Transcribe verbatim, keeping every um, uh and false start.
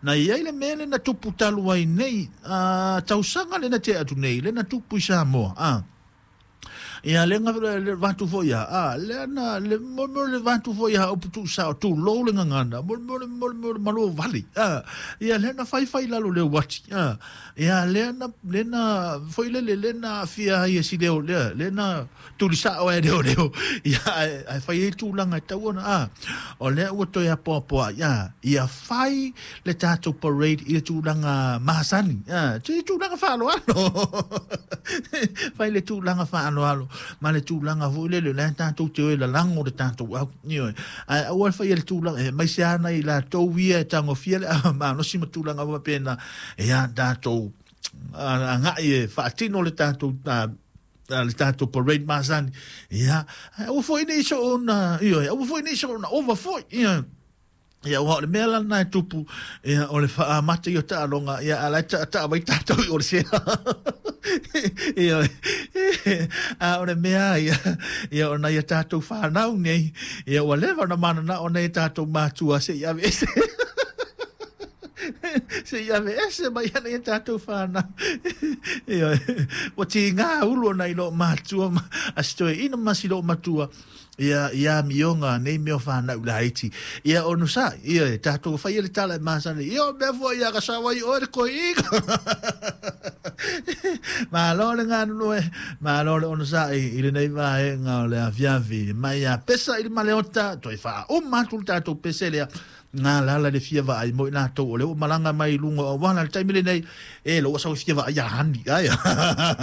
Na i ai le mea lea na tupu talu ai nei, a tausaga lea na tea atu nei, lea na tupu i Samoa, a. Ia le le vatu foi ia, a le na le mo mo le vatu foi ia upu tu sa tu lo le ngangana mo mo mo mo malo vali, a ia le na fai fai lalo le wati, a ia le na le na foi le le na fia ia si leo le le na tulisa o e leo leo ia ai fai e tulaga e tau ona, a o le ua toe apoapoa ia ia fai le tatou parade i le tulaga masani, a te tulaga faaaloalo, fai le tulaga faaaloalo ma le tulaga foi lele o le tatou te o e lalago le tatou au, ioe, ae aua le faia le tulaga e mai se ana i latou ia e tagofia le malosi ma tulaga faapena, ia tatou agai e faatino le tatou le tatou parade masani, ia aua foi nei soona, ioe, aua foi nei soona ova foi, ia. Ia ua o le mea lana e tupu, ia o le faamata i o taaloga, ia ala e taʻataʻa mai tatou i o le sea. Ia, a o le mea ia, ia o nai a tatou whanau nei, ia ua leva na manana o nei tatou matua se i ave ese. Se i ave ese mai ana ia tatou whanau. Ia, ua ti ngā ulu o nai lo matua, a si toe ina masi lo matua, ia ia mionga nei mea whanau laiti. Ia onu sa, ia e tatou whai le tala e masani. Ia o mea fua ia ka sawa i oe le koi ika. Malo le nganu e, malo le onu sa i, i le nei vaenga o le afiafi. Mai a pesa i le maleota, toi wha uma atu le tatou pese lea. Ngā lala le fia vaai mo i latou o le o malanga mai lunga o wala le taimi lenei, e lo ua sau fia vaai ia hani, ai.